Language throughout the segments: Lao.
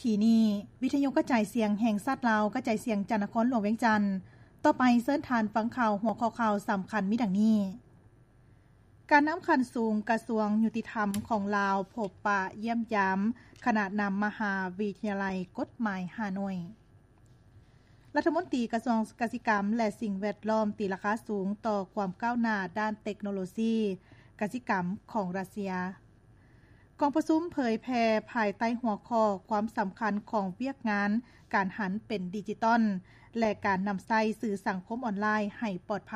ທີ່ນີ້ ວິທະຍຸກະຈາຍສຽງແຫ່ງຊາດລາວ ກະຈາຍສຽງຈາກນະຄອນຫຼວງວຽງຈັນ. ຕໍ່ໄປເຊີນທ່ານຟັງຂ່າວ ຫົວຂໍ້ຂ່າວສຳຄັນມີດັ່ງນີ້: ການນຳຂັ້ນສູງກະຊວງຍຸຕິທຳຂອງລາວ ພົບປະຢ້ຽມຢາມຄະນະນຳມະຫາວິທະຍາໄລກົດໝາຍຮ່າໂນ້ຍ. ລັດຖະມົນຕີກະຊວງກະສິກຳ ແລະ ສິ່ງແວດລ້ອມຕີລາຄາສູງຕໍ່ຄວາມກ້າວໜ້າດ້ານເຕັກໂນໂລຊີກະສິກຳຂອງຣັດເຊຍ. ກອງປະຊຸມເຜີຍແຜ່ພາຍໃຕ້ຫົວຂໍ້ ຄວາມສຳຄັນຂອງວຽກງານການຫັນເປັນດິຈິຕອນ ແລະ ການນຳໃຊ້ສື່ສັງຄົມອອນລາຍໃຫ້ປອດໄພ.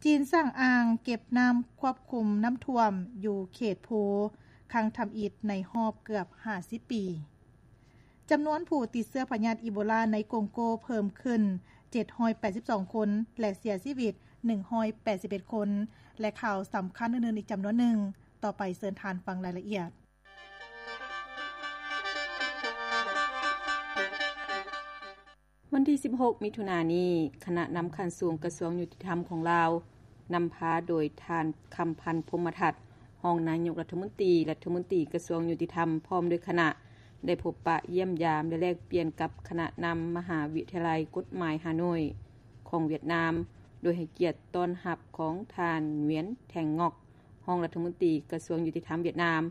ຈີນສ້າງອ່າງເກັບນ້ຳຄວບຄຸມນ້ຳຖ້ວມຢູ່ເຂດພູ ຄັ້ງທຳອິດໃນຮອບເກືອບຫ້າສິບປີ. ຈຳນວນຜູ້ຕິດເຊື້ອພະຍາດອີໂບລາໃນກົງໂກເພີ່ມຂຶ້ນເຈັດຮ້ອຍແປດສິບສອງຄົນ ແລະ ເສຍຊີວິດໜຶ່ງຮ້ອຍແປດສິບເອັດຄົນ ແລະ ຂ່າວສຳຄັນອື່ນໆອີກຈຳນວນໜຶ່ງ. ຕໍ່ໄປເຊີນທ່ານຟັງລາຍລະອຽດ. ວັນທີສິບຫົກ ມິຖຸນານີ້, ຄະນະນຳຂັ້ນສູງກະຊວງຍຸຕິທຳຂອງລາວ ນຳພາໂດຍທ່ານ ຄຳພັນ ພົມມະທັດ ຮອງນາຍົກລັດຖະມົນຕີ, ລັດຖະມົນຕີກະຊວງຍຸຕິທຳ ພ້ອມດ້ວຍຄະນະ ໄດ້ພົບປະຢ້ຽມຢາມ ແລະ ແລກປ່ຽນກັບຄະນະນຳມະຫາວິທະຍາໄລກົດໝາຍຮ່າໂນ້ຍຂອງຫວຽດນາມ, ໂດຍໃຫ້ກຽດຕ້ອນຮັບຂອງທ່ານ ຫງວຽນ ແທງງອກ ຮອງລັດຖະມົນຕີກະຊວງຍຸຕິທຳຫວຽດນາມ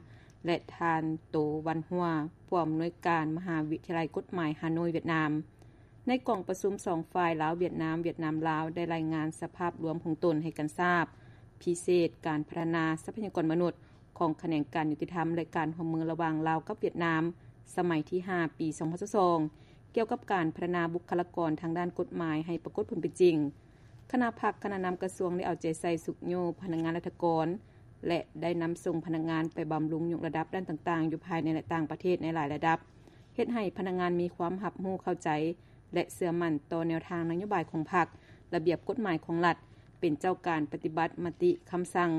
ແລະ ທ່ານ ໂຕ ວັນຫົວ ຜູ້ອຳນວຍການມະຫາວິທະຍາໄລກົດໝາຍຮ່າໂນ້ຍຫວຽດນາມ. ໃນກອງປະຊຸມສອງຝ່າຍ ລາວ-ຫວຽດນາມ, ຫວຽດນາມ-ລາວ ໄດ້ລາຍງານສະພາບລວມຂອງຕົນໃຫ້ກັນຊາບ, ພິເສດການພັດທະນາຊັບພະຍາກອນມະນຸດຂອງຂະແໜງການຍຸຕິທຳ ແລະ ການຮ່ວມມືລະຫວ່າງລາວກັບຫວຽດນາມ ສະໄໝທີຫ້າ ປີສອງພັນຊາວສອງ ກ່ຽວກັບການພັດທະນາບຸກຄະລາກອນທາງດ້ານກົດໝາຍໃຫ້ປາກົດຜົນເປັນຈິງ. ຄະນະພັກຄະນະນຳກະຊວງໄດ້ເອົາໃຈໃສ່ຊຸກຍູ້ພະນັກງານລັດຖະກອນ ແລະ ໄດ້ນຳສົ່ງພະນັກງານໄປບຳລຸງຍົກລະດັບດ້ານຕ່າງໆ ຢູ່ພາຍໃນ ແລະ ຕ່າງປະເທດໃນຫຼາຍລະດັບ, ເຮັດໃຫ້ພະນັກງານມີຄວາມຮັບຮູ້ເຂົ້າໃຈ ແລະ ເຊື່ອໝັ້ນຕໍ່ແນວທາງນະໂຍບາຍຂອງພັກ, ລະບຽບກົດໝາຍຂອງລັດ, ເປັນເຈົ້າການປະຕິບັດມະຕິຄຳສັ່ງ,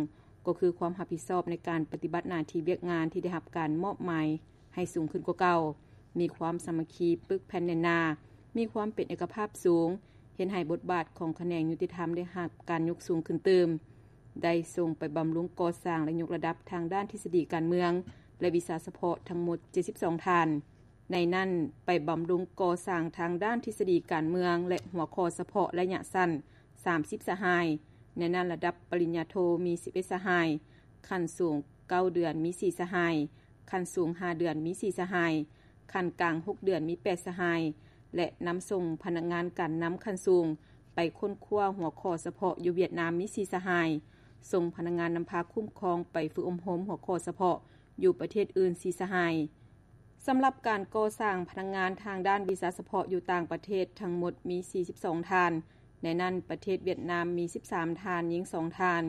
ກໍຄືຄວາມຮັບຜິດຊອບໃນການປະຕິບັດໜ້າທີ່ວຽກງານທີ່ໄດ້ຮັບການມອບໝາຍໃຫ້ສູງຂຶ້ນກວ່າເກົ່າ, ມີຄວາມສາມັກຄີປຶກແຜ່ນແໜ້ນໜາ, ມີຄວາມເປັນເອກະພາບສູງ, ເຮັດໃຫ້ບົດບາດຂອງຂະແໜງຍຸຕິທຳໄດ້ຮັບການຍົກສູງຂຶ້ນຕື່ມ, ໄດ້ສົ່ງໄປບຳລຸງກໍ່ສ້າງ ແລະ ຍົກລະດັບທາງດ້ານທິດສະດີການເມືອງ ແລະ ວິຊາສະເພາະທັງໝົດເຈັດສິບສອງທ່ານ. ໃນນັ້ນ, ໄປບຳລຸງກໍ່ສ້າງທາງດ້ານທິດສະດີການເມືອງ ແລະ ຫົວຂໍ້ສະເພາະໄລຍະສັ້ນ ສາມສິບສະຫາຍ, ໃນນັ້ນລະດັບປະລິນຍາໂທມີສິບເອັດສະຫາຍ, ຂັ້ນສູງເກົ້າເດືອນມີສີ່ສະຫາຍ, ຂັ້ນສູງຫ້າເດືອນມີສີ່ສະຫາຍ, ຂັ້ນກາງຫົກເດືອນມີແປດສະຫາຍ ແລະ ນຳສົ່ງພະນັກງານການນຳຂັ້ນສູງໄປຄົ້ນຄວ້າຫົວຂໍ້ສະເພາະຢູ່ຫວຽດນາມມີສີ່ສະຫາຍ, ສົ່ງພະນັກງານນຳພາຄຸ້ມຄອງໄປຝຶກອົບຮົມຫົວຂໍ້ສະເພາະຢູ່ປະເທດອື່ນສີ່ສະຫາຍ. ສຳລັບການກໍ່ສ້າງພະນັກງານທາງດ້ານວິຊາສະເພາະຢູ່ຕ່າງປະເທດທັງໝົດມີສີ່ສິບສອງທ່ານ, ໃນນັ້ນປະເທດຫວຽດນາມມີສິບສາມທ່ານ, ຍິງສອງທ່ານ,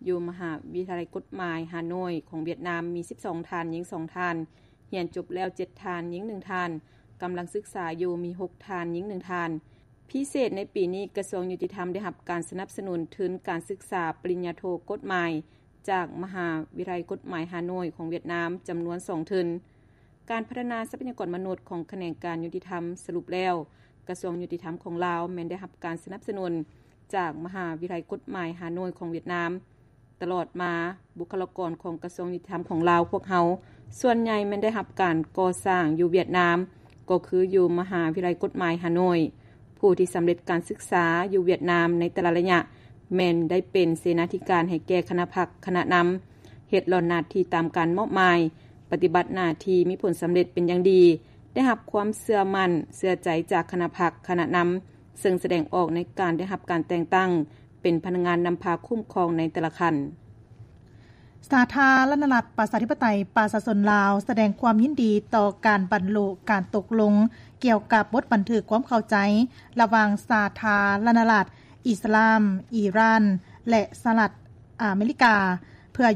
ຢູ່ມະຫາວິທະຍາໄລກົດໝາຍຮ່າໂນ້ຍຂອງຫວຽດນາມມີສິບສອງທ່ານ, ຍິງສອງທ່ານ, ຮຽນຈົບແລ້ວເຈັດທ່ານ, ຍິງໜຶ່ງທ່ານ, ກຳລັງສຶກສາຢູ່ມີຫົກທ່ານ, ຍິງໜຶ່ງທ່ານ. ພິເສດໃນປີນີ້, ກະຊວງຍຸຕິທຳໄດ້ຮັບການສະໜັບສະໜູນທຶນການສຶກສາປະລິນຍາໂທກົດໝາຍ ຈາກມະຫາວິທະຍາໄລກົດໝາຍຮ່າໂນ້ຍຂອງຫວຽດນາມ ຈຳນວນສອງທຶນ. ການພັດທະນາຊັບພະຍາກອນມະນຸດຂອງຂະແໜງການຍຸຕິທຳສະຫຼຸບແລ້ວ, ກະຊວງຍຸຕິທຳຂອງລາວແມ່ນໄດ້ຮັບການສະໜັບສະໜູນຈາກມະຫາວິທະຍາໄລກົດໝາຍຮ່າໂນ້ຍຂອງຫວຽດນາມ. ຕະຫຼອດມາ, ບຸກຄະລາກອນຂອງກະຊວງຍຸຕິທຳຂອງລາວພວກເຮົາ ສ່ວນໃຫຍ່ແມ່ນໄດ້ຮັບການກໍ່ສ້າງຢູ່ຫວຽດນາມ, ກໍຄືຢູ່ມະຫາວິທະຍາໄລກົດໝາຍຮ່າໂນ້ຍ. ຜູ້ທີ່ສຳເລັດການສຶກສາຢູ່ຫວຽດນາມໃນແຕ່ລະໄລຍະ ແມ່ນໄດ້ເປັນເສນາທິການໃຫ້ແກ່ຄະນະພັກຄະນະນຳ, ເຮັດຫຼ້ອນໜ້າທີ່ຕາມການມອບໝາຍ, ປະຕິບັດໜ້າທີ່ມີຜົນສຳເລັດເປັນຢ່າງດີ, ໄດ້ຮັບຄວາມເຊື່ອໝັ້ນເຊື່ອໃຈຈາກຄະນະພັກຄະນະນຳ, ເຊິ່ງສະແດງອອກໃນການໄດ້ຮັບການແຕ່ງຕັ້ງເປັນພະນັກງານນຳພາຄຸ້ມຄອງໃນແຕ່ລະຂັ້ນ. ສາທາລະນະລັດ ປະຊາທິປະໄຕ ປະຊາຊົນລາວ ສະແດງຄວາມຍິນດີຕໍ່ການບັນລຸການຕົກລົງກ່ຽວກັບບົດບັນທຶກຄວາມເຂົ້າໃຈລະຫວ່າງສາທາລະນະລັດອິສລາມ ອີຣານ ແລະ ສະຫະລັດອາເມລິກາ ເພື່ອ